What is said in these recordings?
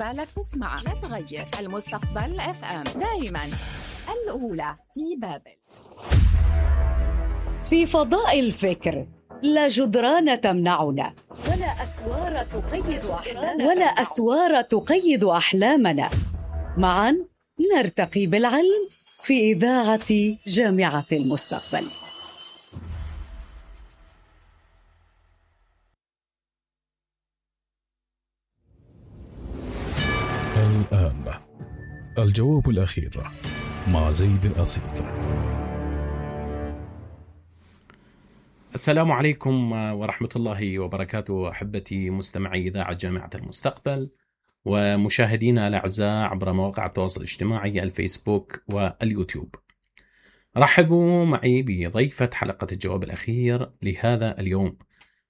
بالك تسمع لا تغير المستقبل FM دائما الأولى في بابل. في فضاء الفكر لا جدران تمنعنا ولا أسوار تقيد أحلامنا. معا نرتقي بالعلم في إذاعة جامعة المستقبل. الآن الجواب الأخير مع زيد الأصيل. السلام عليكم ورحمة الله وبركاته أحبتي مستمعي إذاعة جامعة المستقبل ومشاهدينا الأعزاء عبر مواقع التواصل الاجتماعي الفيسبوك واليوتيوب. رحبوا معي بضيفة حلقة الجواب الأخير لهذا اليوم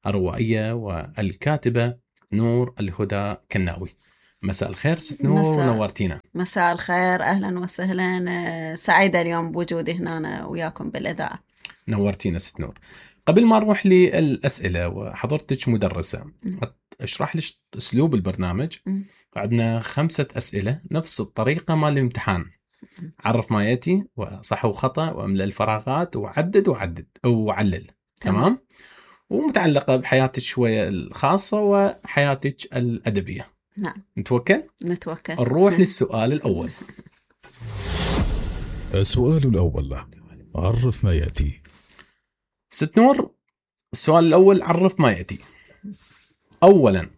الروائية والكاتبة نور الهدى كناوي. مساء الخير ست نور، نورتينا. مساء الخير، أهلا وسهلا، سعيدة اليوم بوجودي هنا وياكم بالإذاعة. نورتينا ست نور. قبل ما نروح للأسئلة، وحضرتك مدرسة، اشرح لي أسلوب البرنامج. عندنا 5 أسئلة نفس الطريقة مال الامتحان، عرف ما يأتي وصح وخطأ واملأ الفراغات وعدد وعلل. تمام. ومتعلقة بحياتك شوية الخاصة وحياتك الأدبية. نعم. نتوكل. نروح للسؤال الأول. السؤال الأول، عرف ما يأتي. ست نور، السؤال الأول عرف ما يأتي. أولا،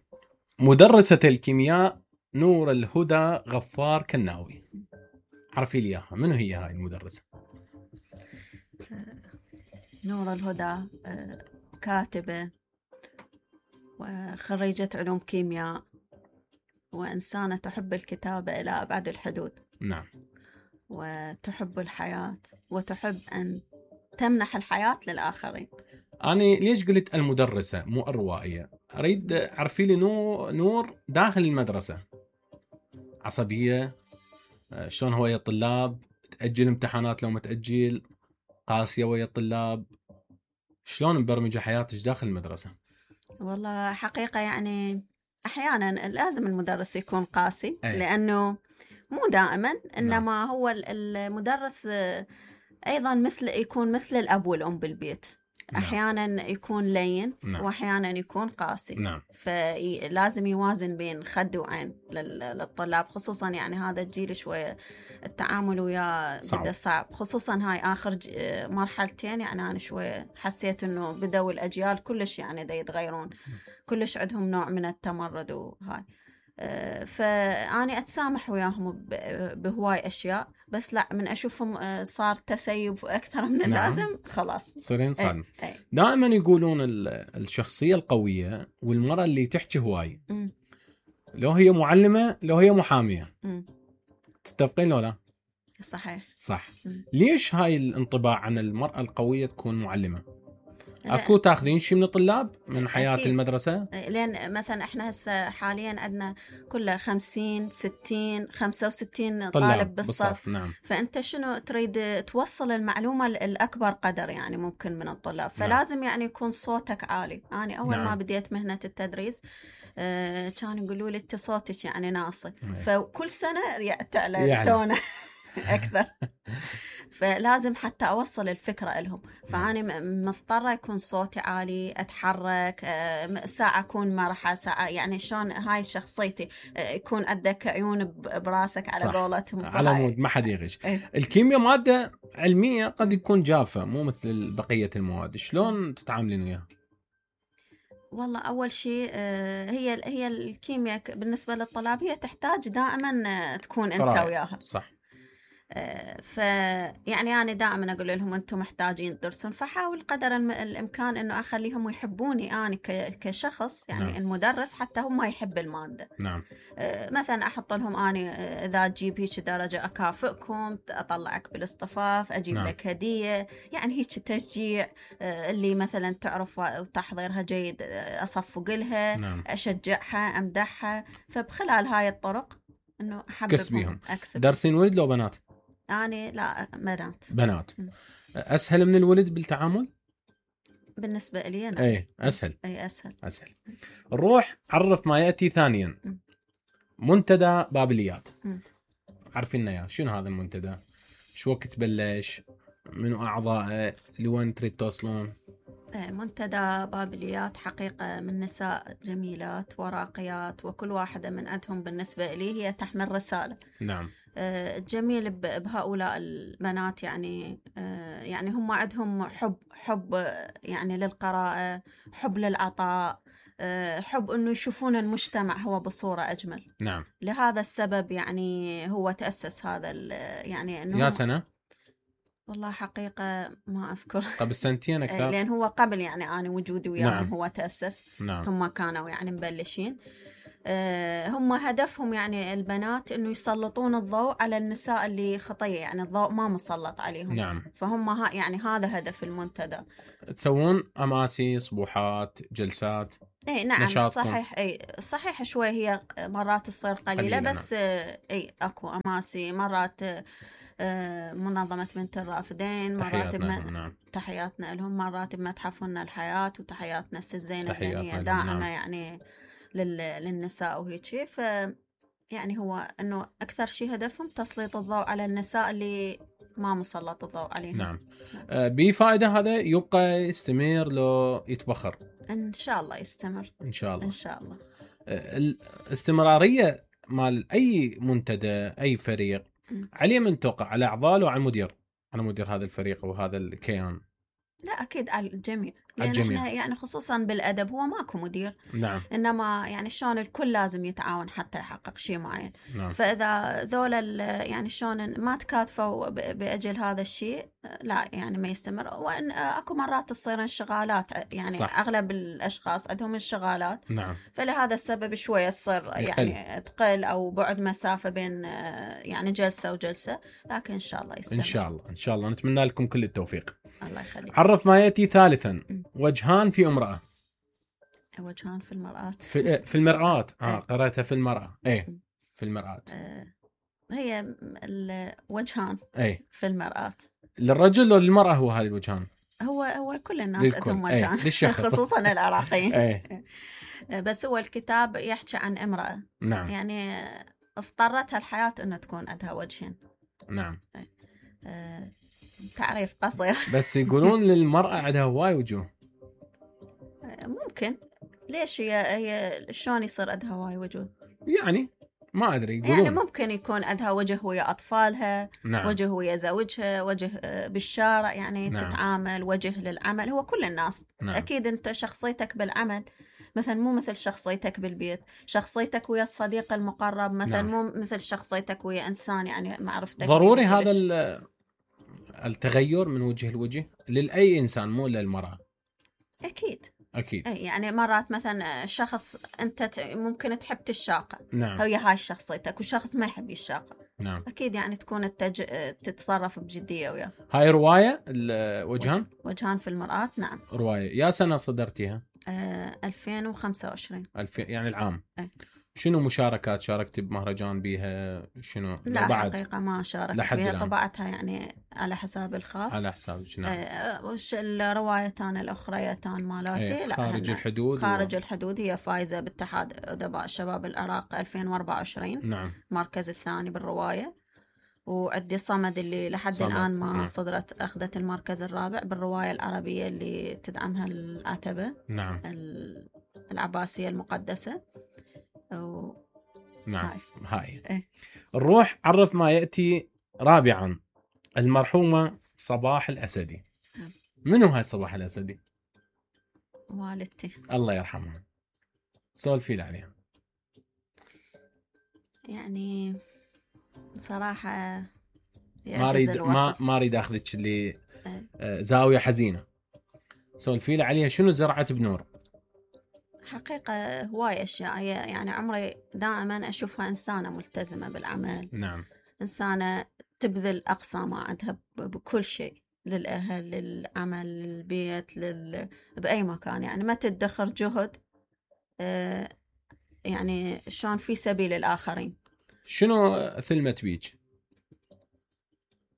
مدرسة الكيمياء نور الهدى غفار كناوي، عرفي لي إياها، منو هي هاي المدرسة؟ نور الهدى كاتبة وخريجة علوم كيمياء وإنسانة تحب الكتابة إلى أبعد الحدود. نعم. وتحب الحياة وتحب أن تمنح الحياة للآخرين. أنا ليش قلت المدرسة مو الروائية؟ أريد عرفي لي نور داخل المدرسة عصبية، شلون هو ويا الطلاب، تأجل امتحانات لو ما تأجل، قاسية ويا الطلاب، شلون مبرمجة حياتك داخل المدرسة؟ والله حقيقة يعني أحيانا لازم المدرس يكون قاسي. لأنه مو دائما، إنما هو المدرس أيضا يكون مثل الأب والأم بالبيت. أحيانا يكون لين وأحيانا يكون قاسي. فلازم يوازن بين خد وعين للطلاب، خصوصا يعني هذا الجيل شوية التعامل وياه بدأ صعب، خصوصا هاي آخر مرحلتين. يعني أنا شوية حسيت إنه بدأوا الأجيال كلش يعني دا يتغيرون، كلش عندهم نوع من التمرد وهاي. فأنا أتسامح وياهم بهواي أشياء، بس لا، من أشوفهم صار تسيب أكثر من اللازم خلاص صيرين صادم. دائما يقولون الشخصية القوية والمرأة اللي تحكي هواي، لو هي معلمة لو هي محامية. تتفقين لو لا؟ صحيح. صح. ليش هاي الانطباع عن المرأة القوية تكون معلمة؟ أكو تاخذين شيء من الطلاب من حياة أكيد. المدرسة؟ لأن مثلا إحنا هسه حاليا عندنا كله 50 60 65 طالب بالصف. نعم. فأنت شنو تريد توصل المعلومة الأكبر قدر يعني ممكن من الطلاب. فلازم يعني يكون صوتك عالي. أنا أول ما بديت مهنة التدريس كانوا يقولوا لي أنت صوتك يعني ناصع. فكل سنة تعلى تونه أكثر. فلازم حتى أوصل الفكرة لهم. فأنا مضطرة يكون صوتي عالي، أتحرك، ساعة أكون مرحة، ساعة يعني شلون هاي شخصيتي، يكون عندك عيون براسك على قولتهم. على مود ما حد يغش. الكيمياء مادة علمية قد يكون جافة مو مثل بقية المواد، شلون تتعاملين وياها؟ والله أول شيء هي الكيمياء بالنسبة للطلاب هي تحتاج دائما تكون أنت وياها. صح. فيعني أنا دائما أقول لهم أنتم محتاجين تدرسون، فحاول قدر الإمكان أنه أخليهم يحبوني أنا كشخص يعني. نعم. المدرس حتى هم ما يحب المادة. نعم. مثلا أحط لهم أنا إذا تجيب هيك درجة أكافئكم، أطلعك بالاصطفاف، أجيب نعم. لك هدية، يعني هيك تشجيع. اللي مثلا تعرف وتحضيرها جيد أصفق لها. نعم. أشجعها، أمدحها. فبخلال هاي الطرق إنه أحببهم. درسين ولد لو بنات؟ أنا لا، بنات. أسهل من الولد بالتعامل؟ بالنسبة لي أنا أسهل. أسهل. نروح عرف ما يأتي ثانيا. منتدى بابليات. عارفين يا شنو هذا المنتدى؟ شو وقت بلش؟ منو أعضائه؟ لوين تريد توصلون؟ منتدى بابليات حقيقة من نساء جميلات وراقيات، وكل واحدة من عندهم بالنسبة لي هي تحمل رسالة. نعم. الجميل بهؤلاء البنات يعني يعني هم عندهم حب يعني للقراءة، حب للعطاء، حب أنه يشوفون المجتمع هو بصورة أجمل. نعم. لهذا السبب يعني هو تأسس هذا يعني أنه يا سنة؟ والله حقيقة ما أذكر. قبل سنتين أكثر؟ لأن هو قبل يعني أنا وجودي وياهم. نعم. هو تأسس. نعم. هم كانوا يعني مبلشين. هم هدفهم يعني البنات إنه يسلطون الضوء على النساء اللي خطية، يعني الضوء ما مسلط عليهم. نعم. فهم يعني هذا هدف المنتدى. تسوون أماسي، صبوحات، جلسات؟ اي نعم. نشاطكم. صحيح. اي صحيح شوي هي مرات تصير قليلة بس نعم. اي اكو اماسي مرات. منظمة بنت الرافدين مرات نعم. تحياتنا لهم، مرات بمتحفنا الحياة، وتحياتنا الست زينب لأن هي نعم. داعمة يعني للنساء وهيك شيء. يعني هو انه اكثر شيء هدفهم تسليط الضوء على النساء اللي ما مسلط الضوء عليهم. نعم. بفائدة هذا يبقى يستمر لو يتبخر؟ ان شاء الله يستمر. ان شاء الله. ان شاء الله. الاستمرارية مال اي منتدى اي فريق عليه من توقع على اعضاء وعلى المدير، على مدير هذا الفريق وهذا الكيان؟ لا أكيد على الجميع، لأن إحنا يعني خصوصا بالأدب هو ماكو مدير. نعم. إنما يعني شلون الكل لازم يتعاون حتى يحقق شيء معين. نعم. فإذا ذول يعني شلون ما تكاتفوا بأجل هذا الشيء لا يعني ما يستمر. وإن أكو مرات تصير انشغالات يعني صح. أغلب الأشخاص عندهم انشغالات. نعم. فلهذا السبب شوية تصير يعني تقل أو بعد مسافة بين يعني جلسة وجلسة، لكن إن شاء الله يستمر. إن شاء الله. إن شاء الله نتمنى لكم كل التوفيق. الله يخليك. عرف ما يأتي ثالثا. وجهان في امرأة. وجهان في المرآة. في المرآة. قرأتها في المرأة. ايه في المرآة. هي الوجهان في المرآة. للرجل ولا للمرأة هو هذه الوجهان؟ هو كل الناس عندهم وجهان. خصوصا العراقيين. بس هو الكتاب يحكي عن امرأة. نعم. يعني اضطرتها الحياة انه تكون عندها وجهين. نعم. تعريف قصير. بس يقولون للمرأة عندها هواي وجوه. ممكن. ليش هي شلون يصير عندها هواي وجوه؟ يعني ما أدري يقولون. يعني ممكن يكون عندها وجه ويا أطفالها. نعم. وجه ويا زوجها، وجه بالشارع يعني. نعم. تتعامل، وجه للعمل. هو كل الناس. نعم. أكيد أنت شخصيتك بالعمل مثلا مو مثل شخصيتك بالبيت، شخصيتك ويا الصديق المقرب مثلا نعم. مو مثل شخصيتك ويا إنسان يعني معرفتك. ضروري هذا التغير من وجه لوجه لأي إنسان مو للمرأة. أكيد. أكيد. يعني مرات مثلا شخص أنت ممكن تحب الشاقة. نعم. هي هاي شخصيتك، وشخص ما يحب الشاقة. نعم. أكيد يعني تكون تتصرف بجدية وياه. هاي رواية الوجهان؟ وجهان في المرآة. نعم. رواية. يا سنة صدرتيها؟ 2025. يعني العام. شنو مشاركات شاركتي بمهرجان بيها؟ شنو؟ لا بعد حقيقة ما شاركت بيها. طبعتها يعني على حساب الخاص. على حساب شنو؟ وش الروايتان الأخريتان مالاتي؟ لا خارج الحدود. خارج الحدود هي فايزة باتحاد أدباء الشباب العراق 2024. نعم. المركز الثاني بالرواية. وعندي صمد اللي لحد الآن ما نعم. صدرت أخذت المركز الرابع بالرواية العربية اللي تدعمها العتبة. نعم. العباسية المقدسة. نعم. هاي. نروح عرف ما يأتي رابعا. المرحومة صباح الأسدي. منو هاي صباح الأسدي؟ والدتي الله يرحمها. سولفي لي عليها. يعني صراحة ما اريد اخذك اللي زاوية حزينة. سولفي لي عليها. شنو زرعت بنور؟ حقيقة هواي أشياء. يعني عمري دائما أشوفها إنسانة ملتزمة بالعمل. نعم. إنسانة تبذل أقصى ما عندها بكل شيء، للأهل، للعمل، للبيت، بأي مكان. يعني ما تدخر جهد يعني شلون في سبيل الآخرين. شنو ثلمت بيك؟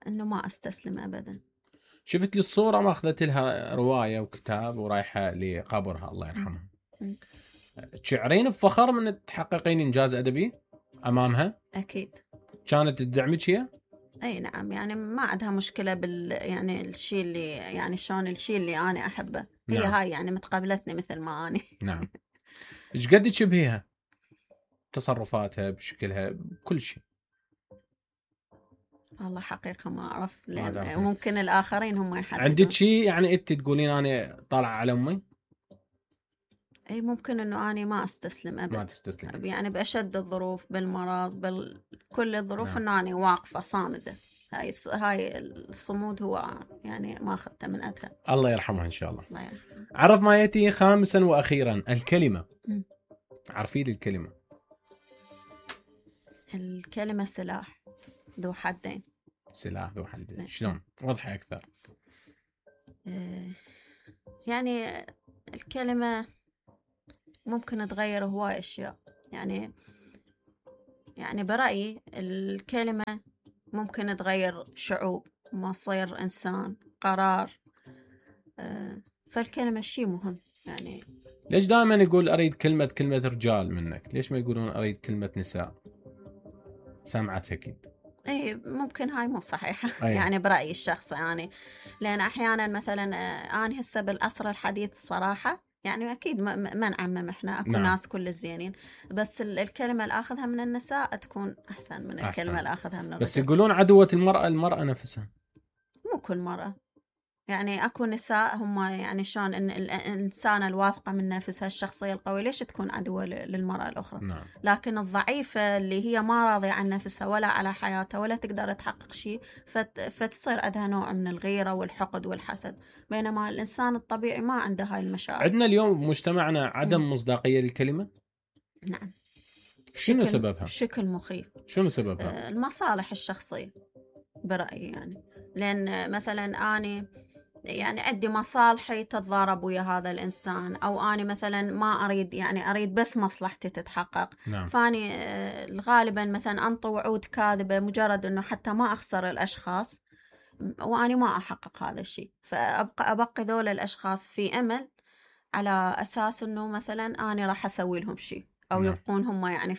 إنه ما أستسلم أبدا. شفت لي الصورة ما أخذت لها رواية وكتاب ورايحة لقبرها الله يرحمها. شعرين بفخر من تحققين إنجاز أدبي أمامها؟ أكيد. كانت تدعمك هي؟ أي نعم، يعني ما عندها مشكلة يعني الشيء اللي يعني شلون الشيء اللي أنا أحبه. هي نعم. هاي يعني متقبلتني مثل ما أنا. نعم. إيش قد تشبهيها؟ تصرفاتها، بشكلها، بكل شيء. والله حقيقة ما أعرف، ما لأن تعرفين. ممكن الآخرين هم يحددون. عندك شيء يعني أنت تقولين أنا طالعة على أمي؟ أي ممكن إنه أنا ما أستسلم أبد. ما تستسلم. يعني بأشد الظروف، بالمرض، كل الظروف، نعم. إنه أنا واقفة صامدة. هاي الصمود هو يعني ما أخذته من أدها. الله يرحمها إن شاء الله. الله يرحمه. عرف ما يأتي خامسا وأخيرا الكلمة. م. عرفي لي الكلمة. الكلمة سلاح ذو حدين. سلاح ذو حدين. شلون؟ وضحي أكثر. يعني الكلمة ممكن تغير هواي أشياء. يعني برأيي الكلمة ممكن تغير شعوب، مصير إنسان، قرار. فالكلمة شيء مهم. يعني ليش دائما يقول أريد كلمة رجال منك؟ ليش ما يقولون أريد كلمة نساء؟ سمعت أكيد. اي ممكن هاي مو صحيحة. أيه. يعني برأيي الشخصي يعني، لأن أحيانا مثلا أنا هسه بالعصر الحديث صراحة، يعني أكيد ما نعمم إحنا، أكو نعم. ناس كل الزينين، بس الكلمة اللي أخذها من النساء تكون أحسن من أحسن. الكلمة اللي أخذها من الرجال. بس يقولون عدوة المرأة نفسها. مو كل مرة، يعني أكو نساء هم يعني شلون إن الإنسانة الواثقة من نفسها، الشخصية القوية، ليش تكون عدوة للمرأة الأخرى؟ نعم. لكن الضعيفة اللي هي ما راضية عن نفسها ولا على حياتها ولا تقدر تحقق شيء، فتصير عندها نوع من الغيرة والحقد والحسد، بينما الإنسان الطبيعي ما عنده هاي المشاعر. عندنا اليوم بمجتمعنا عدم مصداقية للكلمة. نعم. شنو سببها؟ بشكل مخيف. شنو سببها؟ المصالح الشخصية برأيي، يعني لأن مثلا أنا يعني عندي مصالحي تتضارب ويا هذا الإنسان، أو أنا مثلا ما أريد، يعني أريد بس مصلحتي تتحقق. نعم. فاني غالبا مثلا أنطي وعود كاذبة مجرد أنه حتى ما أخسر الأشخاص، وأنا ما أحقق هذا الشيء، فأبقي ذول الأشخاص في أمل على أساس أنه مثلا أنا راح أسوي لهم شيء، أو نعم. يبقون هم يعني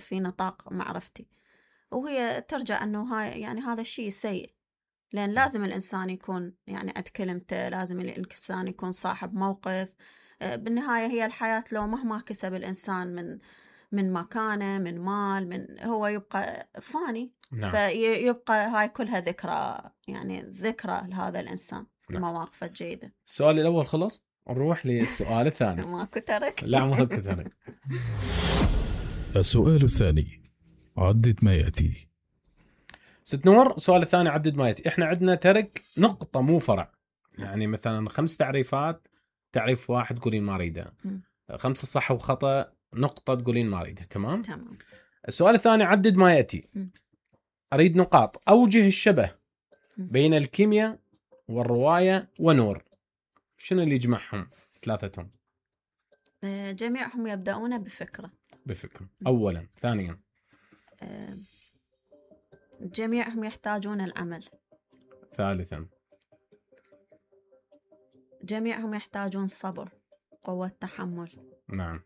في نطاق معرفتي، وهي ترجع أنه هاي يعني هذا الشيء سيء. لأن لازم الإنسان يكون يعني قد كلمته، لازم الإنسان يكون صاحب موقف. بالنهاية هي الحياة، لو مهما كسب الإنسان من مكانه، من مال، من هو يبقى فاني. نعم. فيبقى هاي كلها ذكرى، يعني ذكرى لهذا الإنسان. نعم. المواقف الجيدة. السؤال الأول خلص، نروح للسؤال الثاني. ماكو ترك. لا ماكو ترك. السؤال الثاني، عدد ما يأتي. ست نور، السؤال الثاني عدد ما يأتي. احنا عندنا ترك نقطة مو فرع، يعني مثلا 5 تعريفات، تعريف واحد تقولين ما اريده، 5 صح وخطأ، نقطة تقولين ما اريده. تمام. السؤال الثاني عدد ما يأتي. اريد نقاط اوجه الشبه بين الكيمياء والرواية ونور. شنو اللي يجمعهم ثلاثتهم؟ جميعهم يبدأون بفكرة. اولا. ثانيا جميعهم يحتاجون العمل. ثالثا جميعهم يحتاجون صبر، قوة تحمل. نعم.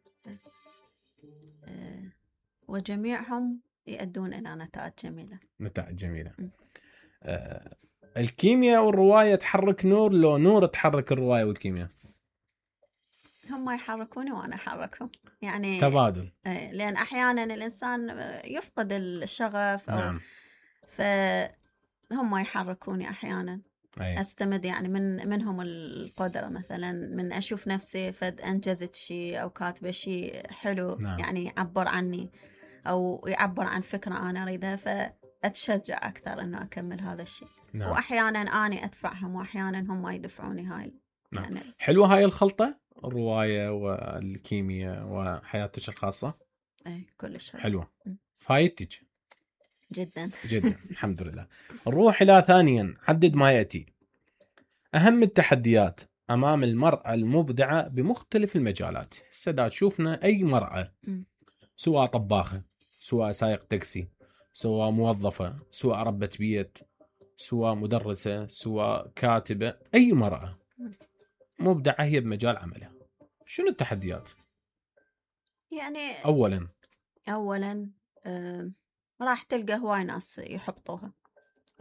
وجميعهم يؤدون إلى نتائج جميلة. الكيمياء والرواية تحرك نور، لو نور تحرك الرواية والكيمياء؟ هم يحركوني وأنا أحركهم، يعني تبادل. لأن أحيانا الإنسان يفقد الشغف، أو نعم. فهم يحركوني أحيانا. أستمد يعني منهم القدرة، مثلا من أشوف نفسي فد أنجزت شيء أو كاتبة شيء حلو. نعم. يعني يعبر عني أو يعبر عن فكرة أنا أريدها، فأتشجع أكثر أنه أكمل هذا الشيء. نعم. وأحيانا أنا أدفعهم وأحيانا هم يدفعوني. هاي نعم. يعني حلوة هاي الخلطة، الرواية والكيمياء وحياتك الخاصة. كلش حلوة. فايتك جدا. الحمد لله. نروح إلى ثانيا، عدد ما يأتي. أهم التحديات أمام المرأة المبدعة بمختلف المجالات. السادات شوفنا أي مرأة، سواء طباخة، سواء سائق تاكسي، سواء موظفة، سواء ربة بيت، سواء مدرسة، سواء كاتبة، أي مرأة مبدعة هي بمجال عملها. شنو التحديات؟ يعني أولا راح تلقى هواي ناس يحبطوها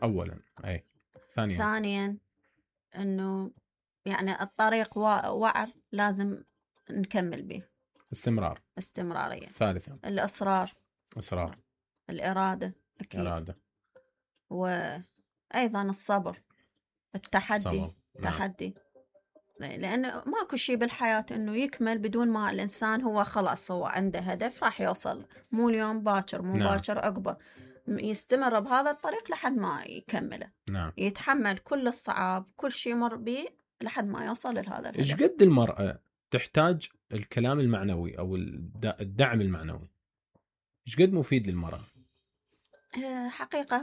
اولا. اي. ثانيا انه يعني الطريق وعر، لازم نكمل به. استمرارية. ثالثا الإصرار. الإرادة. أكيد. وأيضا الصبر. التحدي. لأنه ماكو شيء بالحياة إنه يكمل بدون ما الإنسان هو خلاص هو عنده هدف راح يوصل، مو اليوم باكر، مو باكر عقبه، يستمر بهذا الطريق لحد ما يكمله. يتحمل كل الصعاب، كل شيء يمر به لحد ما يوصل لهذا الهدف. إيش قد المرأة تحتاج الكلام المعنوي أو الدعم المعنوي؟ إيش قد مفيد للمرأة؟ حقيقة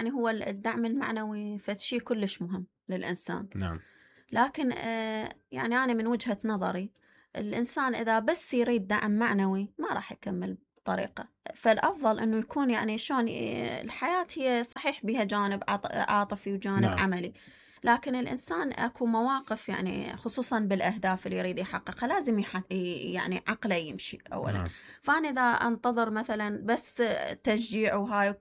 هو الدعم المعنوي فشي كلش مهم للإنسان. نعم. لكن يعني أنا من وجهة نظري الإنسان إذا بس يريد دعم معنوي ما راح يكمل بطريقة. فالأفضل إنه يكون يعني شلون الحياة هي صحيح بها جانب عاطفي وجانب عملي، لكن الإنسان أكو مواقف يعني خصوصا بالأهداف اللي يريد يحققها لازم يعني عقله يمشي أولا. فأنا إذا أنتظر مثلا بس تشجيع وهاي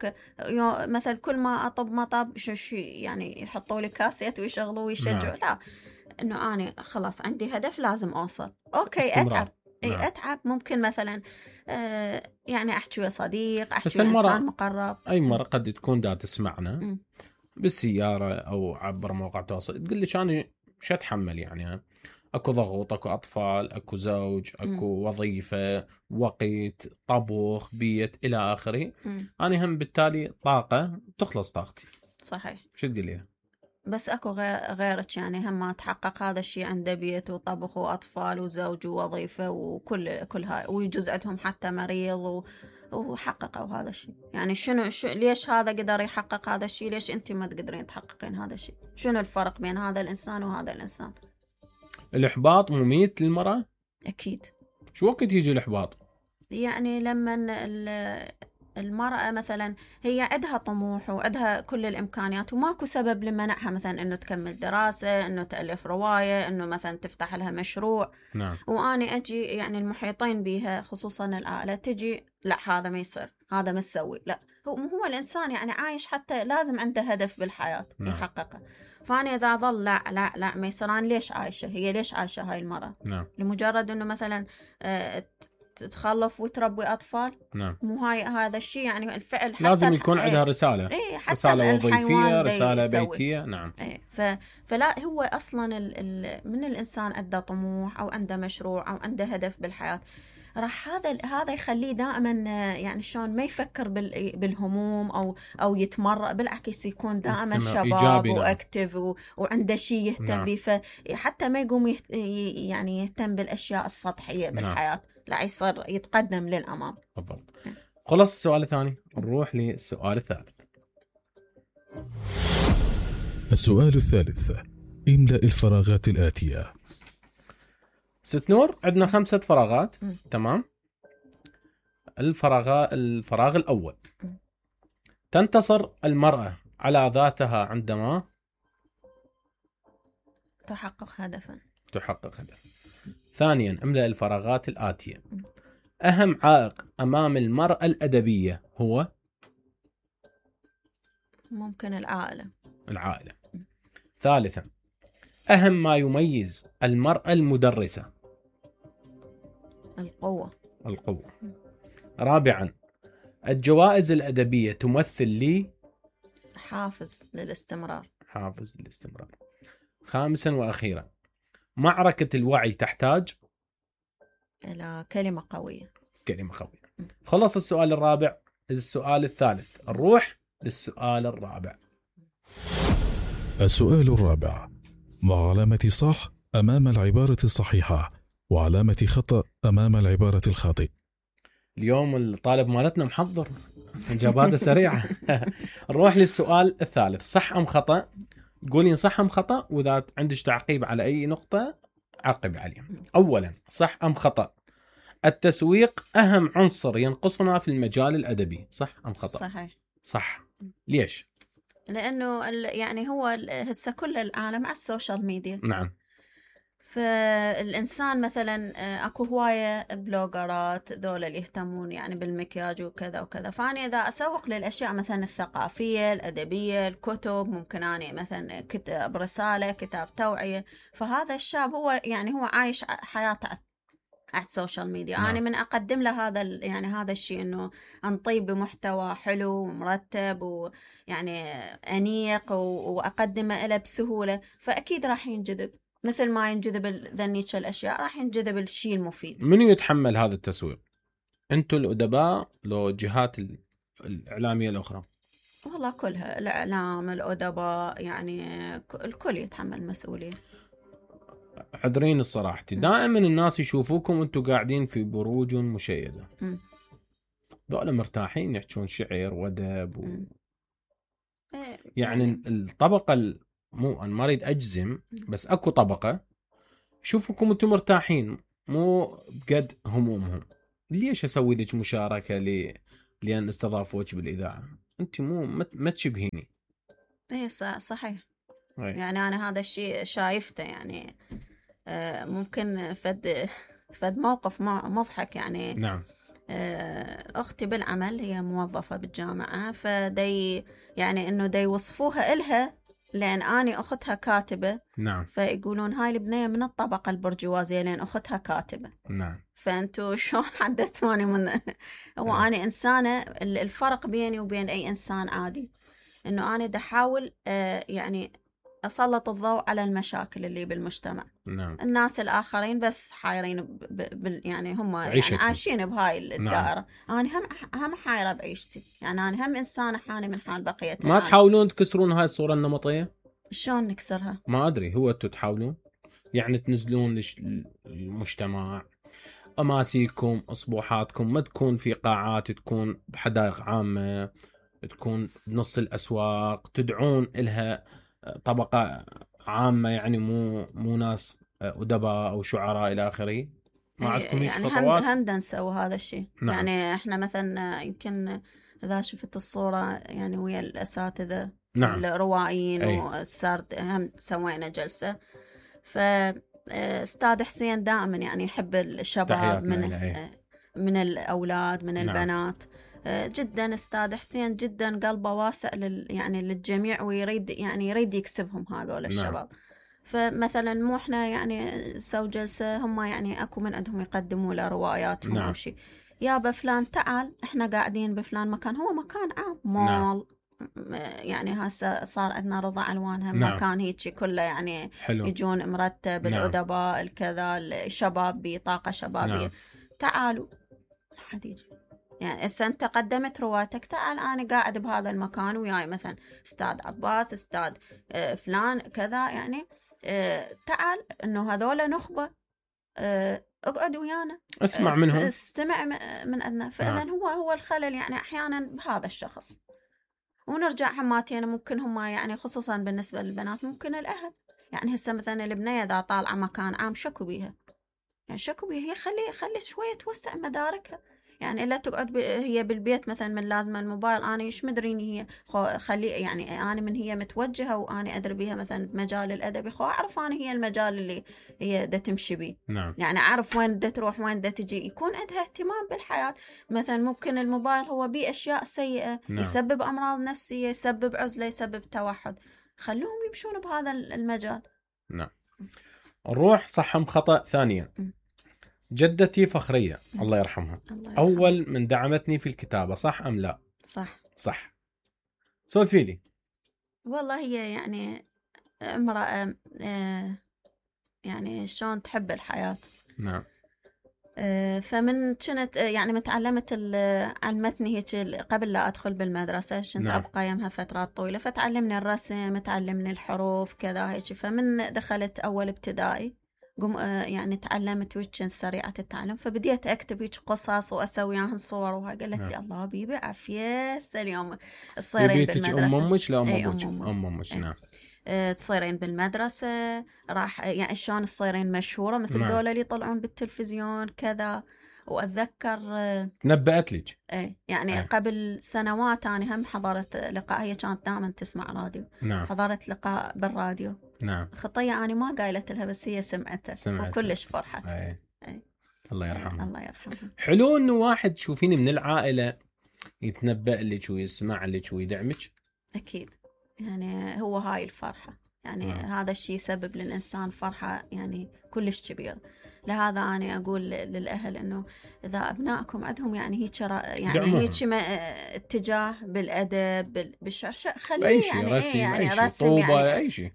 مثلا كل ما أطب مطب شو يعني يحطوا لي كاسيت ويشغلوا ويشجعوا، لا، إنه أنا خلاص عندي هدف لازم أوصل. أوكي أتعب. أتعب ممكن مثلا يعني أحكي ويا صديق، أحكي ويا إنسان مقرب. أي مرة قد تكون دا تسمعنا بالسيارة أو عبر مواقع التواصل تقول لي أنا مش أتحمل، يعني أكو ضغوط، أكو أطفال، أكو زوج، أكو وظيفة، وقت، طبخ، بيت، إلى آخره. أنا هم بالتالي طاقة تخلص طاقتي. صحيح. شو تقول لي؟ بس أكو غيرك يعني هم ما تحقق هذا الشيء، عنده بيت وطبخ وأطفال وزوج ووظيفة وكل هاي، ويجوز عندهم حتى مريض وحققوا هذا الشيء. يعني شنو ليش هذا قدر يحقق هذا الشيء، ليش أنت ما تقدرين تحققين هذا الشيء؟ شنو الفرق بين هذا الإنسان وهذا الإنسان؟ الإحباط مميت للمرأة؟ أكيد. شو وقت يجي الإحباط؟ يعني لما المرأة مثلا هي عندها طموح وعندها كل الإمكانيات وماكو سبب لمنعها مثلا إنه تكمل دراسة، إنه تألف رواية، إنه مثلا تفتح لها مشروع. نعم. وأنا أجي يعني المحيطين بها خصوصا العائلة تجي لا هذا ما يصير، هذا ما تسوي، لا، هو الإنسان يعني عايش حتى لازم عنده هدف بالحياة يحققه. فأنا إذا ظل لا ما يصير، أنا ليش عايشة؟ هي ليش عايشة هاي المرأة؟ نعم. لمجرد إنه مثلا تتخلف وتربي أطفال. نعم. مو هذا الشيء يعني الفعل حتى لازم يكون عندها رسالة. رسالة وظيفية، رسالة بيتية. نعم. فلا هو أصلا من الإنسان عنده طموح أو عنده مشروع أو عنده هدف بالحياة، راح هذا يخليه دائما يعني شلون ما يفكر بالهموم أو يتمرق، بالعكس يكون دائما شباب وأكتف وعنده شيء يهتم به. فحتى ما يقوم يعني يهتم بالأشياء السطحية بالحياة. لا، يصير يتقدم للأمام. بالضبط. خلص السؤال الثاني، نروح للسؤال الثالث. السؤال الثالث، املأ الفراغات الآتية. ست نور، عندنا 5 فراغات. تمام. الفراغ الأول، تنتصر المرأة على ذاتها عندما تحقق هدفا. ثانيا، املأ الفراغات الآتية. أهم عائق أمام المرأة الأدبية هو؟ ممكن العائلة. ثالثا، أهم ما يميز المرأة المدرسة؟ القوة. رابعا، الجوائز الأدبية تمثل لي حافز للاستمرار. خامسا وأخيرا، معركة الوعي تحتاج إلى كلمة قوية. خلص السؤال الرابع. السؤال الثالث، نروح للسؤال الرابع. السؤال الرابع، مع علامة صح أمام العبارة الصحيحة وعلامة خطأ أمام العبارة الخاطئة. اليوم الطالب مالتنا محضر إجاباته سريعة. نروح للسؤال الثالث، صح أم خطأ؟ قولين صح أم خطأ، وإذا عندك تعقيب على أي نقطة عقب عليه. أولا، صح أم خطأ؟ التسويق أهم عنصر ينقصنا في المجال الأدبي، صح أم خطأ؟ صحيح. صح. ليش؟ لأنه يعني هو هسه كل العالم على السوشيال ميديا. نعم. فالإنسان مثلا أكو هواية بلوجرات ذولا اللي يهتمون يعني بالمكياج وكذا وكذا، فأنا إذا أسوق للأشياء مثلا الثقافية الأدبية الكتب، ممكن أنا مثلا كتاب رسالة كتاب توعية، فهذا الشاب هو يعني هو عايش حياته على السوشيال ميديا. أنا من أقدم له هذا يعني هذا الشيء، إنه أنطيب بمحتوى حلو ومرتب ويعني أنيق وأقدمه له بسهولة، فأكيد راح ينجذب مثل ما ينجذب ذنيك الأشياء، راح ينجذب الشيء المفيد. منو يتحمل هذا التسويق؟ أنتوا الأدباء لو جهات الإعلامية الأخرى؟ والله كلها، الإعلام الأدباء يعني الكل يتحمل مسؤولية. عذرين الصراحة، دائما الناس يشوفوكم وانتوا قاعدين في بروج مشيدة، ذولا مرتاحين يحكون شعر وادب يعني الطبقة مو أنا ما أريد أجزم، بس أكو طبقة يشوفوكم وانتوا مرتاحين مو بقد همومهم. ليش أسوي لك مشاركة لأن استضافوك بالإذاعة؟ أنت ما تشبهيني. إيه صحيح. يعني أنا هذا الشيء شايفته، يعني ممكن فد موقف مضحك يعني. نعم. أختي بالعمل هي موظفة بالجامعة، فدي يعني إنه دي وصفوها إلها لأن أنا أختها كاتبة. نعم. فيقولون هاي البنية من الطبقة البرجوازية لأن أختها كاتبة. نعم. فأنتوا شلون حدثتوني من هو أنا إنسانة. الفرق بيني وبين أي إنسان عادي إنه أنا دا أحاول يعني أسلط الضوء على المشاكل اللي بالمجتمع. نعم. الناس الآخرين بس حايرين يعني هم يعني عايشين بهاي الدائرة. نعم. أنا هم حايرة بعيشتي، يعني أنا هم إنسانة حاني من حال بقية. ما تحاولون تكسرون هاي الصورة النمطية؟ شلون نكسرها؟ ما أدري، هو تحاولون يعني تنزلون للمجتمع أماسيكم أصبوحاتكم ما تكون في قاعات، تكون بحدائق عامة، تكون بنص الأسواق، تدعون إلها طبقة عامة يعني مو ناس أدباء أو شعراء إلى آخره. ما عندكم هيك يعني خطوات؟ هم نسوي هذا الشيء. نعم. يعني إحنا مثلا يمكن إذا شفت الصورة يعني ويا الأساتذة. نعم. الروائيين والسرد هم سوينا جلسة. فأستاذ حسين دائما يعني يحب الشباب من الأولاد من نعم. البنات جدا. أستاذ حسين جدا قلبه واسع يعني للجميع، ويريد يعني يريد يكسبهم هذول الشباب. نعم. فمثلا مو احنا يعني سوي جلسة، هم يعني اكو من عندهم يقدموا له رواياتهم. نعم. او شيء، يا بفلان تعال احنا قاعدين بفلان مكان، هو مكان عام مول. نعم. يعني هسه صار عندنا رضا ألوانها. نعم. مكان هيك كله يعني حلو. يجون مرتب. نعم. الأدباء الكذا الشباب بطاقة شبابية. نعم. تعالوا حد يجي يعني أنت قدمت روايتك، تعال أنا قاعد بهذا المكان وياي مثلا أستاذ عباس أستاذ فلان كذا يعني تعال إنه هذول نخبة اقعد ويانا اسمع منهم، استمع من عندنا. فإذا هو الخلل يعني أحيانا بهذا الشخص. ونرجع حماتين ممكن هم يعني خصوصا بالنسبة للبنات ممكن الأهل يعني هسه مثلا البنية إذا طالعة مكان عام شكوا بيها، يعني شكوا بيها، هي خلي شوية توسع مداركها. يعني إلا تقعد هي بالبيت مثلا من لازمة الموبايل، أنا إيش مدريني هي خلي يعني أنا من هي متوجهة وأنا أدري بيها مثلا بمجال الأدبي، أعرف أنا هي المجال اللي هي دا تمشي بيه. نعم. يعني أعرف وين دا تروح وين دا تجي، يكون عندها اهتمام بالحياة. مثلا ممكن الموبايل هو بيه أشياء سيئة. نعم. يسبب أمراض نفسية، يسبب عزلة، يسبب توحد، خلوهم يمشون بهذا المجال. نعم. نروح صح خطأ ثانيا. جدتي فخرية الله يرحمها أول من دعمتني في الكتابة، صح أم لا؟ صح. سولفي لي. والله هي يعني امرأة يعني شلون تحب الحياة. نعم. فمن كنت يعني متعلمت علمتني هيك قبل لا أدخل بالمدرسة، كنت نعم. أبقى يمها فترات طويلة، فتعلمني الرسم، تعلمني الحروف كذا هيك. فمن دخلت أول ابتدائي يعني تعلمت ويتشن سريعة التعلم، فبديت أكتب هيك قصص وأسوي عنها صور وهاي. قالت لي الله بيبي عافية اليوم تصيرين بالمدرسة. أمك لا أمك نعم. تصيرين بالمدرسة راح يعني شلون تصيرين مشهورة مثل نعم. دول اللي يطلعون بالتلفزيون كذا. وأتذكر نبأت لك يعني قبل سنوات أنا هم حضرت لقاء، هي كانت دائما تسمع راديو. نعم. حضرت لقاء بالراديو، نعم. خطية أنا ما قايلت لها بس هي سمعتها وكلش فرحت. أي. الله يرحمها. الله يرحمها. حلو إنه واحد تشوفيني من العائلة يتنبأ لك ويسمع لك ويدعمك. أكيد يعني هو هاي الفرحة يعني هذا الشيء يسبب للإنسان فرحة يعني كلش كبيرة. لهذا أنا أقول للأهل إنه إذا أبنائكم عندهم يعني هيك اتجاه بالأدب بالشعر خليه يعني رسم، يعني رسم طوبة يعني أي شيء.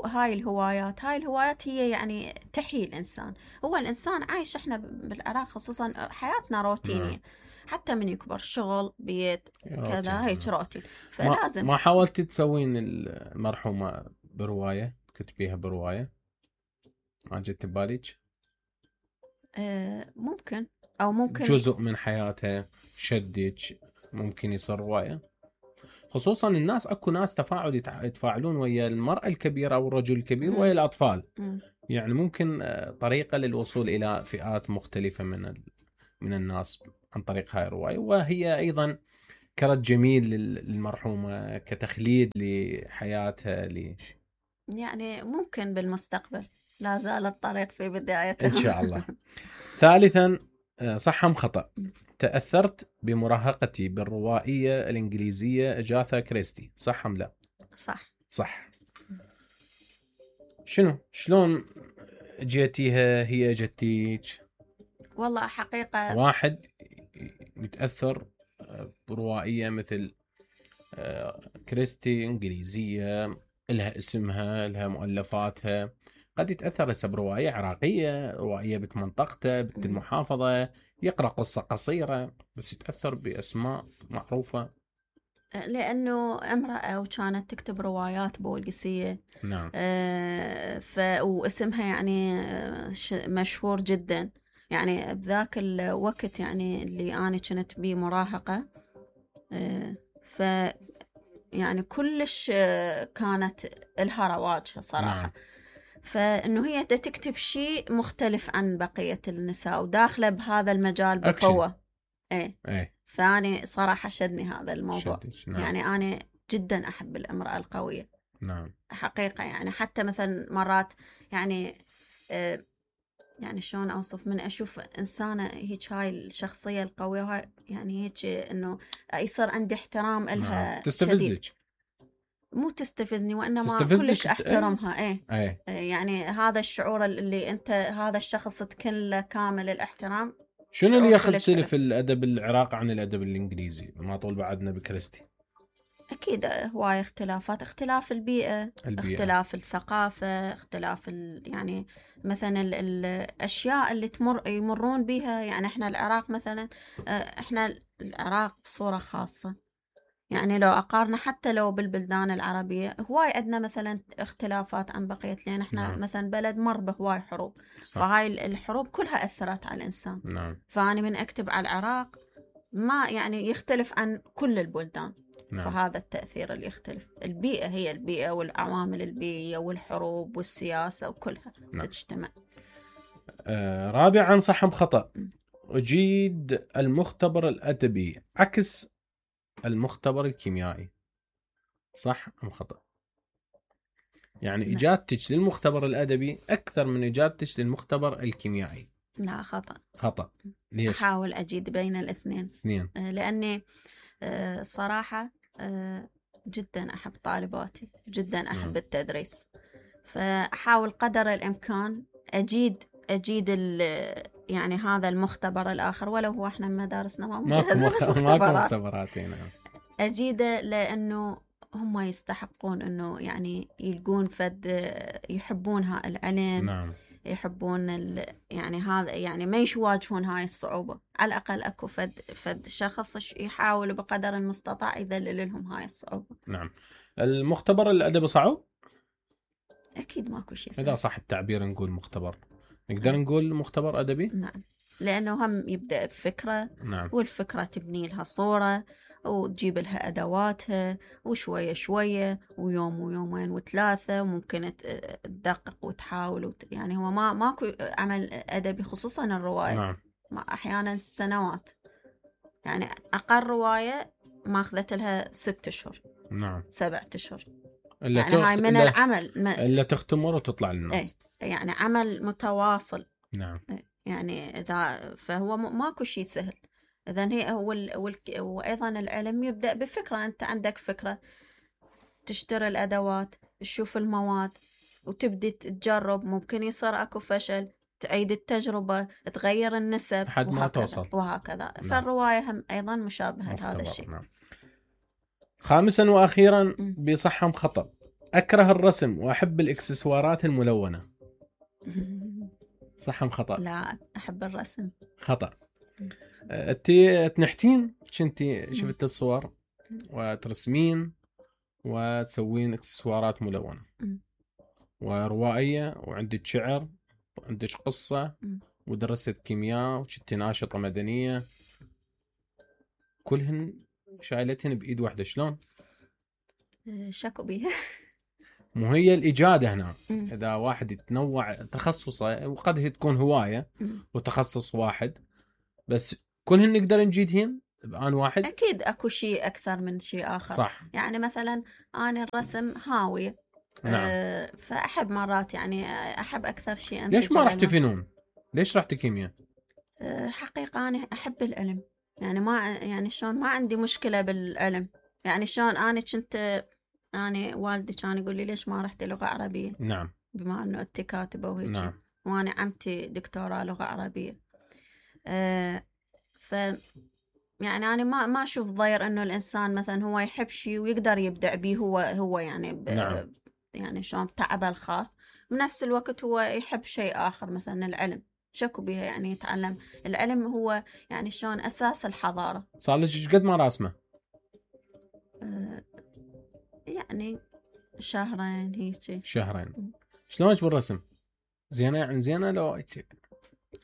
هاي الهوايات هي يعني تحيي الإنسان. هو الإنسان عايش إحنا بالعراق خصوصا حياتنا روتينية. حتى من يكبر شغل بيت كذا هيك روتين. فلازم ما حاولتي تسوين المرحومة برواية تكتبيها برواية؟ ما جت ببالك؟ ممكن أو ممكن جزء من حياتها شدك ممكن يصير رواية. خصوصا الناس اكو ناس يتفاعلون ويا المرأة الكبيرة او الرجل الكبير ويا الاطفال. يعني ممكن طريقة للوصول الى فئات مختلفة من الناس عن طريق هاي الرواية. وهي ايضا كرت جميل للمرحومة كتخليد لحياتها يعني ممكن بالمستقبل. لا زال الطريق في بدايته إن شاء الله. ثالثا صح أم خطأ؟ تأثرت بمراهقتي بالروائية الإنجليزية أجاثا كريستي، صح أم لا؟ صح. شلون جيتيها هي جتيك؟ والله حقيقة واحد يتأثر بروائية مثل كريستي إنجليزية لها اسمها لها مؤلفاتها، قد يتأثر هسه برواية عراقية، رواية بمنطقته بالمحافظة، يقرأ قصة قصيرة بس يتأثر بأسماء معروفة لأنه امرأة وكانت تكتب روايات بولقسية. نعم. واسمها يعني مشهور جدا يعني بذاك الوقت يعني اللي أنا كنت بيه مراهقة. يعني كلش كانت لها رواجها صراحة. نعم. فإنه هي تكتب شيء مختلف عن بقية النساء وداخلة بهذا المجال بقوة. فأنا صراحة شدني هذا الموضوع. نعم. يعني أنا جدا أحب الامرأة القوية. نعم. حقيقة يعني حتى مثلا مرات يعني يعني شلون أوصف من أشوف إنسانة هيك هاي الشخصية القوية وهاي يعني هيك إنه يصير عندي احترام إلها. تستفزك؟ مو تستفزني وإنما كلش أحترمها. يعني هذا الشعور اللي أنت هذا الشخص تكن له كامل الاحترام. شنو اللي يختلف الأدب العراقي عن الأدب الإنجليزي؟ ما طول بعدنا بكريستي. أكيد هواي اختلافات، اختلاف البيئة. اختلاف الثقافة، اختلاف يعني مثلا الأشياء اللي يمرون بها. يعني احنا العراق مثلا احنا العراق بصورة خاصة يعني لو أقارن حتى لو بالبلدان العربية هواي عندنا مثلا اختلافات عن بقية لأن احنا مثلا بلد مر بهواي حروب. فهاي الحروب كلها أثرت على الإنسان. فأنا من أكتب على العراق ما يعني يختلف عن كل البلدان. فهذا التأثير اللي يختلف. البيئة هي البيئة والعوامل البيئية والحروب والسياسة وكلها تجتمع. رابعا صح أم خطأ؟ أجيد المختبر الأدبي عكس المختبر الكيميائي، صح أم خطأ؟ يعني إجابتك للمختبر الأدبي أكثر من إجابتك للمختبر الكيميائي. لا خطأ. ليش؟ أحاول أجيد بين الاثنين. لأني صراحة جدا أحب طالباتي، جدا أحب التدريس. فأحاول قدر الإمكان أجيد يعني هذا المختبر الآخر ولو هو احنا مدارسنا ما مجهزين مختبرات. أجيده لأنه هم يستحقون أنه يعني يلقون يحبون العلم. يحبون يعني هذا يعني ما يواجهون هاي الصعوبة. على الأقل أكو فد شخص يحاول بقدر المستطاع يذلل لهم هاي الصعوبة. نعم. المختبر الأدبي صعب؟ أكيد ماكو شيء إذا صح التعبير نقول مختبر، نقدر نقول مختبر أدبي؟ نعم، لأنه هم يبدأ بفكرة. والفكرة تبني لها صورة وتجيب لها أدواتها وشوية شوية ويوم ويومين وثلاثة وممكن تدقق وتحاول يعني هو ماكو عمل أدبي خصوصا الرواية. أحيانا سنوات. يعني أقل رواية ما أخذت لها 6 أشهر 7 أشهر. يعني هاي من العمل إلا تختمر وتطلع للناس. يعني عمل متواصل. نعم. يعني إذا فهو ماكو شيء سهل. إذن هي وأيضا العلم يبدأ بفكرة. أنت عندك فكرة، تشتري الأدوات، تشوف المواد، وتبدي تجرب. ممكن يصير أكو فشل، تعيد التجربة، تغير النسب لحد ما توصل وهكذا. نعم. فالرواية هم أيضا مشابهة لهذا الشيء. نعم. خامسا وأخيرا بصحم خطأ: أكره الرسم وأحب الإكسسوارات الملونة. صحم خطأ. لا، أحب الرسم. خطأ. أنتي تنحتين، كنتي شفت الصور وترسمين وتسوين إكسسوارات ملونة وروائية، وعندك شعر وعندك قصة ودرست كيمياء وكنتي ناشطة مدنية، كلهن شايلتهن بإيد واحدة. شلون؟ شكو بيها. مو هي الإجادة هنا. إذا واحد يتنوع تخصصه، وقد هي تكون هواية وتخصص واحد، بس كلهن نقدر نجيدهن بآن واحد. أكيد أكو شيء أكثر من شيء آخر. صح. يعني مثلا أنا الرسم هاوية. نعم. فأحب مرات يعني أحب أكثر شيء أمسك. ليش ما رحت فنون؟ ليش رحت كيمياء؟ حقيقة أنا أحب العلم. يعني ما يعني شلون ما عندي مشكلة بالعلم. يعني شلون أنا كنت أنا والدي كان يقول لي ليش ما رحت لغة عربية. نعم. بما أنه أنت كاتبة وهيك. نعم. وأنا عمتي دكتوراه لغة عربية. ف يعني أنا ما أشوف ضير إنه الإنسان مثلا هو يحب شيء ويقدر يبدع به هو يعني نعم. يعني شلون تعبه الخاص، بنفس الوقت هو يحب شيء آخر مثلا العلم. شكو بها يعني يتعلم العلم هو يعني شلون أساس الحضارة. صار لك قد ما راسمة؟ يعني شهرين هيك. شهرين. شلونك بالرسم؟ زينة يعني زينة لو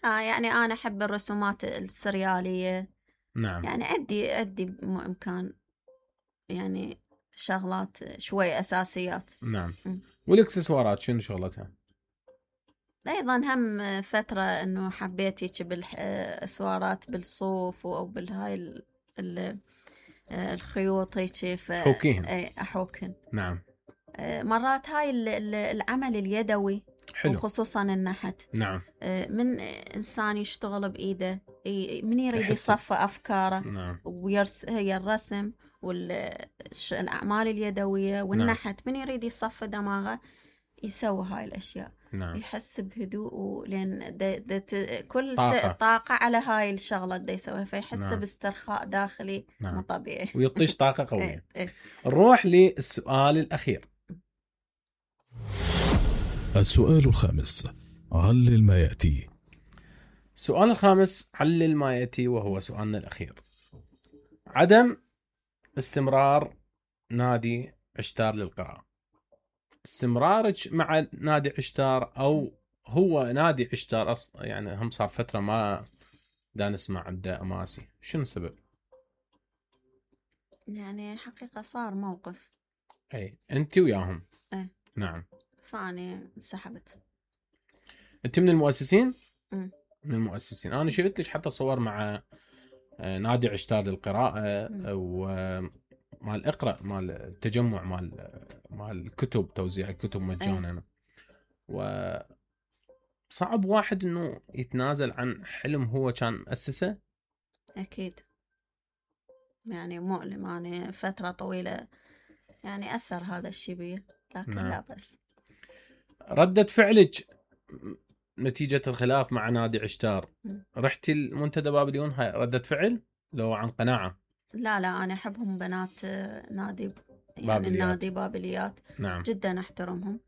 يعني أنا أحب الرسومات السريالية. نعم. يعني أدي بإمكان يعني شغلات شوي أساسيات. نعم. والإكسسوارات شنو شغلتها؟ أيضا هم فترة إنه حبيت هيك بالأسوارات بالصوف أو بالهاي الخيوط هيك. حوكيهن. أحوكهن. نعم. مرات هاي العمل اليدوي حلو. وخصوصا النحت. نعم. من إنسان يشتغل بإيده، من يريد يصفى أفكاره. نعم. هي الرسم والأعمال اليدوية والنحت. من يريد يصفى دماغه يسوي هاي الأشياء. نعم. يحس بهدوء، لأن كل طاقة على هاي الشغلة دا يسويها، فيحس نعم. باسترخاء داخلي. نعم. مو طبيعي. ويطيش طاقة قوية. نروح للسؤال الأخير. السؤال الخامس: علل ما يأتي. السؤال الخامس: علل ما يأتي، وهو سؤالنا الأخير. عدم استمرار نادي عشتار للقراءة. استمرارك مع نادي عشتار، أو هو نادي عشتار أصلا يعني هم صار فترة ما دا نسمع عنده أماسي، شنو السبب؟ يعني حقيقة صار موقف. أي أنت وياهم. نعم. فأنا انسحبت. أنت من المؤسسين؟ من المؤسسين. أنا شفت لك حتى صور مع نادي عشتار للقراءة ومال اقرأ، مال التجمع، مال الكتب، توزيع الكتب مجانا. وصعب واحد إنه يتنازل عن حلم هو كان مؤسسه. أكيد يعني مؤلم. يعني فترة طويلة يعني أثر هذا الشيء بي، لكن نعم. لا بس. ردة فعلك نتيجة الخلاف مع نادي عشتار، رحتي المنتدى بابليون، هاي ردة فعل لو عن قناعة؟ لا أنا أحبهم بنات نادي يعني بابليات. النادي بابليات. نعم. جدا أحترمهم.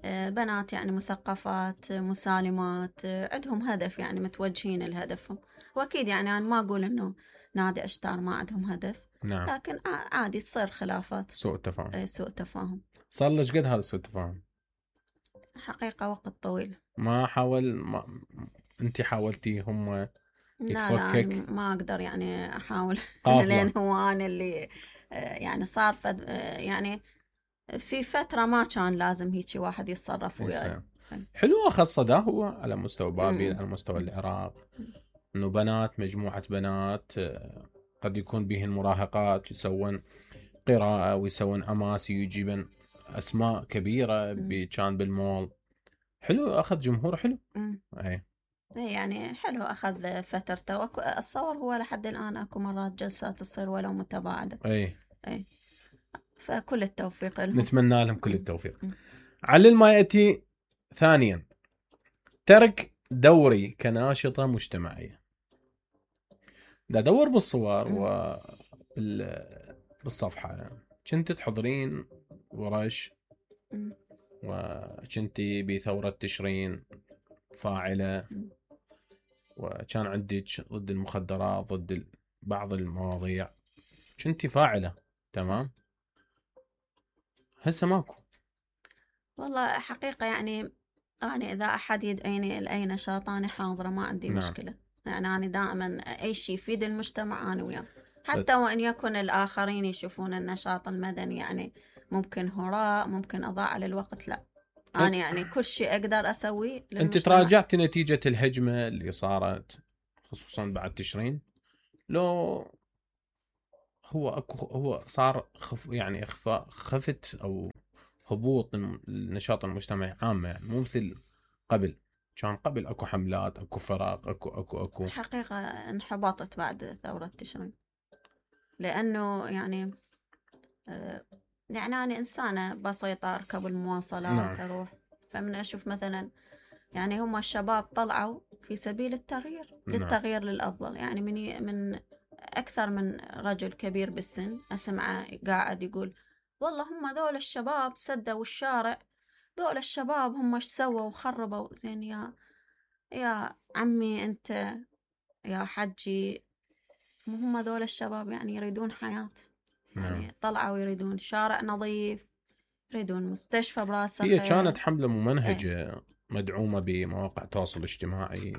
بنات يعني مثقفات مسالمات، عندهم هدف، يعني متوجهين لهدفهم. وأكيد يعني أنا ما أقول إنه نادي عشتار ما عندهم هدف. نعم. لكن عادي تصير خلافات، سوء التفاهم. سوء تفاهم. صار ليش قد هذا سوء التفاهم؟ حقيقة وقت طويل. ما أنت حاولتي هم يتفكك؟ لا ما أقدر يعني أحاول. لأن هو أنا اللي يعني صار يعني في فترة ما كان لازم هيك واحد يتصرف وياه. حلوة خاصة ده هو على مستوى بابل، على مستوى العراق، إنه بنات، مجموعة بنات قد يكون بهن مراهقات، يسوون قراءة ويسوون أماسي ويجيبن اسماء كبيره كان بالمول. حلو، اخذ جمهور حلو. اي يعني حلو، اخذ فترته. اتصور هو لحد الان اكو مرات جلسات تصير ولو متباعده. اي فكل التوفيق لهم، نتمنى لهم كل التوفيق. علل ما ياتي ثانيا، ترك دوري كناشطه مجتمعيه. دا دور بالصور بالصفحه، كنت تحضرين ورش وكنتي بثورة تشرين فاعلة، وكان عندك ضد المخدرات، ضد بعض المواضيع، كنتي فاعلة. تمام. هسه ماكو. والله حقيقة يعني إذا أحد يدعيني لأي نشاط أنا حاضرة، ما عندي مشكلة. يعني أنا دائما أي شيء يفيد المجتمع أنا وياه، حتى وإن يكون الآخرين يشوفون النشاط المدني يعني ممكن هراء، ممكن أضاع على الوقت. لا، أنا يعني كل شيء أقدر أسويه للمجتمع. أنت تراجعت نتيجة الهجمة اللي صارت خصوصا بعد تشرين؟ لو هو صار يعني خفت أو هبوط النشاط المجتمعي عامة، يعني مو مثل قبل. كان قبل أكو حملات، أكو فرق، أكو حقيقة انحبطت بعد ثورة تشرين، لأنه يعني أنا إنسانة بسيطة، أركب المواصلات أروح. فمن أشوف مثلا يعني هم الشباب طلعوا في سبيل التغيير، للتغيير للأفضل. يعني من أكثر من رجل كبير بالسن أسمعه قاعد يقول والله هم ذول الشباب سدوا الشارع، ذول الشباب هم ايش سووا وخربوا. زين يا عمي أنت يا حجي، هم ذول الشباب يعني يريدون حياة، يعني طلعوا يريدون شارع نظيف، يريدون مستشفى براسه. هي كانت حملة ممنهجة مدعومة بمواقع التواصل الاجتماعي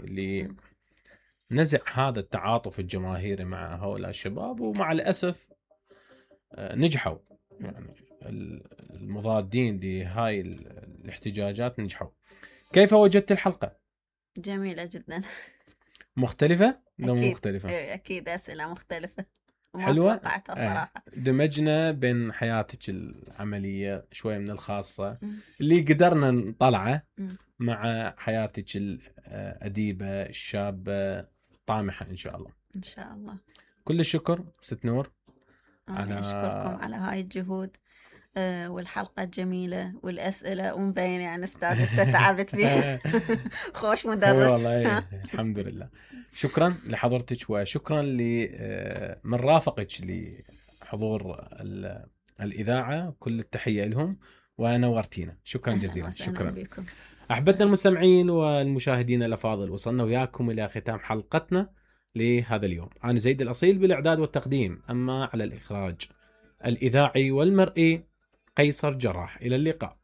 لنزع هذا التعاطف الجماهيري مع هؤلاء الشباب، ومع الأسف نجحوا. يعني المضادين لهاي الاحتجاجات نجحوا. كيف وجدت الحلقة؟ جميلة جدا. مختلفة؟ أكيد. مختلفة. أكيد أسئلة مختلفة وما حلوة. توقعتها صراحة. دمجنا بين حياتك العملية شوية من الخاصة اللي قدرنا نطلعه مع حياتك الأديبة الشابة الطامحة إن شاء الله. إن شاء الله. كل الشكر ست نور. أنا أشكركم على هاي الجهود والحلقة الجميلة والأسئلة، ومبين يعني أستاذ أنت تعبت فيها. خوش مدرس. والله الحمد لله. شكرا لحضرتك، وشكرا من رافقك لحضور الإذاعة. كل التحية لهم ونورتينا. شكرا جزيلا. شكرا بكم. أحبتنا المستمعين والمشاهدين الأفاضل، وصلنا وياكم إلى ختام حلقتنا لهذا اليوم. أنا زيد الأصيل بالإعداد والتقديم، أما على الإخراج الإذاعي والمرئي قيصر جراح. إلى اللقاء.